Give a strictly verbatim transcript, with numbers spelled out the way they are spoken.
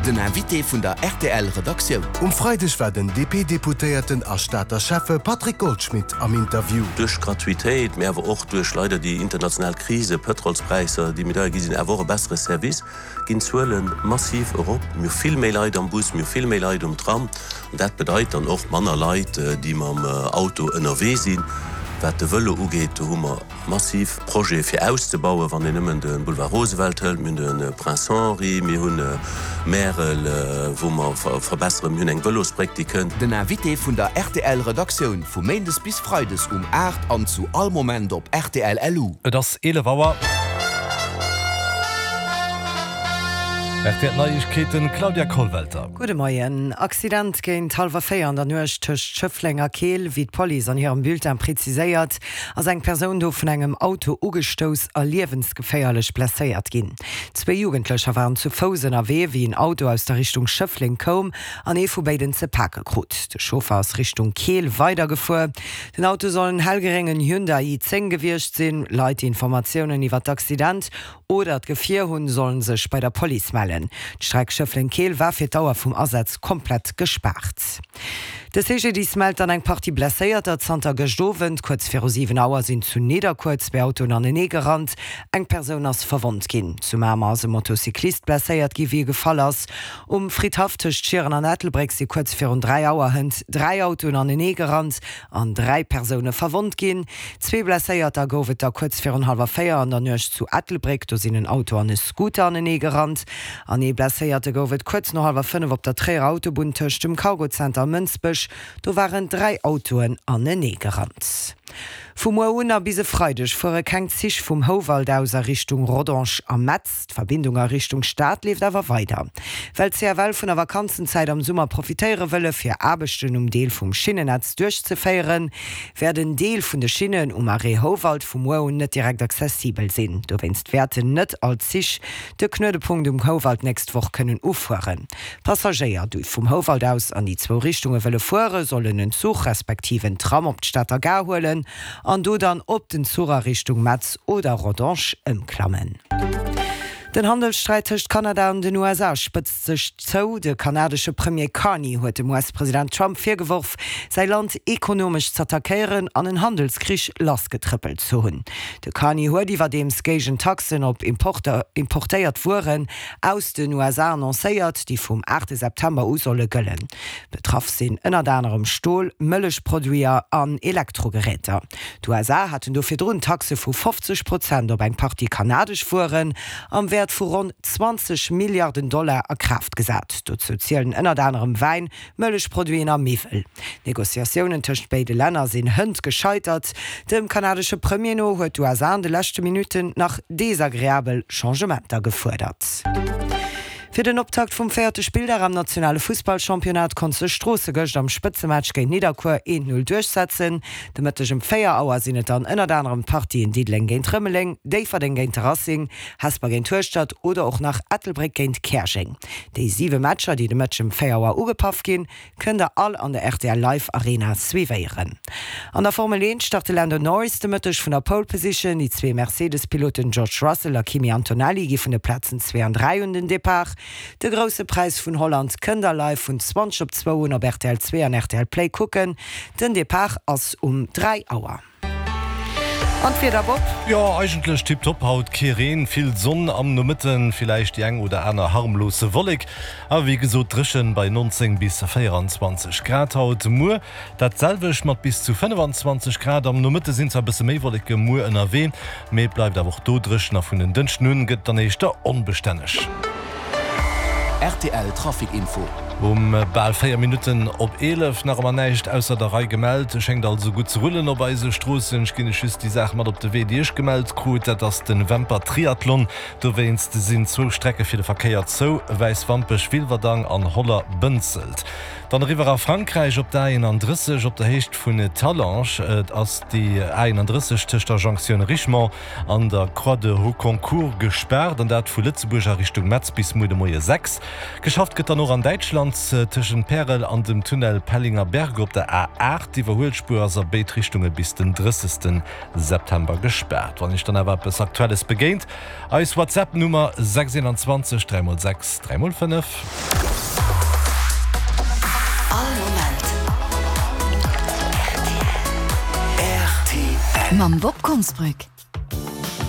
Den Invité vun der R T L Redaktioun. Um Freideg war den D P-Deputéierten a Stater Schäffe Patrick Goldschmidt am Interview. Duerch Gratuitéit, mee awer och duerch leider déi international Krise, Pëtrolspräisser, déi méi deier gi sinn, awer och e bessere Service, ginn d'Zuele massiv erop. Mir hu vill méi Leit am Bus, mir hu vill méi Leit um Tram. An dat bedeit dann och manner Leit, déi mam Auto ënnerwee sinn. Wat de Vëlo ugeet, do hu mer massiv Projete fir auszebauen, wann een nëmmen de Boulevard Roosevelt hëlt, mir hunn de Prince Henri, mir hunn Märel, wou mer verbesseren, mir hunn eng Vëlosbréck, déi kënnt. Den Invité vun der R T L Redaktioun vu méindes bis freides um aacht an zu all Moment op R T L L U. Et ass eelef Auer. R T L Neiegkeeten, Claudia Kollwelter. Gudde Moien. Accident géint hallwer véier an der Nuecht tëscht Schëffleng a Keel. Wéi d'Police an hirem Bulletin präziséiert, ass eng Persoun do vun engem Auto ugestouss a liewensgeféierlech blesséiert ginn. Zwee Jugendlecher waren zu Fouss ënnerwee, wéi en Auto aus der Richtung Schëffleng koum an ee vu béiden ze pake krut. De Chauffer ass Richtung Keel weidergefuer. Den Auto soll en hellgréngen Hyundai i zéng gewiescht sinn. Leit, déi Informatiounen iwwer d'Accident oder d'Gefier hunn, sollen sech bei der Police mellen. D'Streck Schëffleng-Keel war fir d'Dauer vum Asaz komplett gespaart. De C G D I S mellt dann eng Partie Blesséierter zanter gëscht Owend. Kuerz viru siwen Auer sinn zu Nidderkuer zwee Autoen anenee gerannt. Eng Persoun ass verwonnt ginn. Zu Mamer ass e Motocyclist blesséiert gi wéi e gefall ass. Um Fridhaff tëscht Schieren an Ettelbréck si kuerz virun dräi Auer hënt dräi Autoen anenee gerannt an dräi Persoune verwonnt ginn. Zwee Blesséierter gouf et da kuerz virun hallwer véier an der Nuecht zu Ettelbréck. Do sinn en Auto an e Scooter anenee gerannt. An ee Blesséierte gouf et kuerz no hallwer fënnef op der Tréierer Autobunn tëscht dem Cargozenter a Mënsbech. Do waren dräi Autoen anenee gerannt. Vu muer un a bis e Freideg fuere keng Zich vum Houwald aus a Richtung Rodange a Metz. D'Verbindung a Richtung Stad leeft awer weider. Well d'C F L vun der Vakanzenzäit am Summer profitéiere wëlle fir Aarbechten um Deel vum Schinnennetz duerchzeféieren, wäert en Deel vun de Schinnen um Arrêt Houwald vu muer un net direkt accessibel sinn. Dowéinst wäerten net all Zich de Knuedepunkt um Houwald nächst Woch kënnen ufueren. Passagéier, déi vum Houwald aus an déi zwou Richtunge wëlle fueren, sollen en Zuch respektiv en Tram op d'Stater Gare huelen an do dann op den Zuch a Richtung Metz oder Rodange ëmklammen. Den Handelssträit tëscht Kanada an den U S A spëtzt sech zou. De kanadesche Premier Carney huet dem U S-President Trump virgeworf, säi Land ekonomesch z'attackéieren an en Handelskrich lassgetrëppelt ze hunn. De Carney huet iwwerdeems Géigentaxen op Importer, importéiert Wueren aus den U S A annoncéiert, déi vum aachte September u solle gëllen. Betraff sinn ënnert anerem Stol, Mëllechproduiter an Elektrogeräter. D'U S A haten do virdrun Taxe vu fofzeg Prozent op eng Partie kanadesch Wueren am Wäert vu ronn zwanzeg Milliarden Dollar a Kraaft gesat. Dozou zielen ënnert anerem Wäin, Mëllechproduiten a Miwwel. Negociatiounen tëscht béide Länner sinn hënt gescheitert. Dem kanadesche Premier no huet d'U S A an de leschte Minutten nach desagreabel Changementer gefuerdert. Fir den Optakt vum véierte Spilldag am nationale Fussballchampionnat konnt sech Stroossen gëscht am Spëtzematch géint Nidderkuer een null duerchsetzen. De Mëtteg um véier Auer sinn et dann ënnert anerem Partien Diddeleng géint Rëmeleng, Déifferdeng géint de Racing, Hesper géint Hueschtert oder och nach Ettelbréck géint Käerjeng. Déi siwe Matcher, déi de Mëtteg um véier Auer ugepaff ginn, kënnt der all an der R T L Live Arena suivéieren. An der Formel eent start de Lando Norris de Mëtteg vun der Pole Position. Déi zwee Mercedes-Piloten George Russell a Kimi Antonelli gi vun de Plazen zwee an dräi un den Depart. De Grousse Präis vun Holland kënnt der live vun zwanzeg op zwou un op R T L zwee an R T L Play kucken. Den Depart ass um dräi Auer. An d'Wieder, Bob? Jo, eigentlech tiptop haut, kee Reen, vill Sonn, am Nomëtten villäicht déi eng oder aner harmlose Wollek. A wéi gesot dréchen bei neunzéng bis véieranzwanzeg Grad haut. Muer dat selwecht mat bis zu fënnefenzwanzeg Grad. Am Nomëtte sinn zwar e bësse méi Wolleke muer ënnerwee, mee et bleift awer och do dréchen a vun en Dënschden un gëtt dann éischter onbestänneg. R T L Trafic Info. Um bal véier Minutten op eelef, nach ëmmer näischt ausser der Rei gemellt. Et schéngt also gutt ze rullen op eise Stroossen. Ech ginn iech just déi Saach mat op de Wee, déi ech gemellt krut. Dat ass de Wämper Triathlon. Dowéinst sinn zwou Strecke fir de Verkéier zou, Wäiswampech, Wilwerdang an Holler, Bënzelt. Dann eriwwer a Frankräich op der A eenandrësseg op der Héicht vun Talange. Et ass déi A eenandrësseg tëscht der Jonktioun Richemont an der Croix de Rocquencourt gespaart, an dat vu Lëtzebuerg a Richtung Metz bis muer de Moie sechs. Geschafft gëtt dann och an Däitschland. Accident tëschent Pärel an dem Tunnel Pellingerberg op der A aacht. D'Iwwerhuelspuer ass a béid Richtunge bis den drëssegsten September gespaart. Wann Iech dann awer eppes Aktuelles begéint, eis WhatsApp Nummer sechs eenanzwanzeg dräi mol sechs dräi mol fënnef. All Moment rtl. Mam Bob Konsbrück.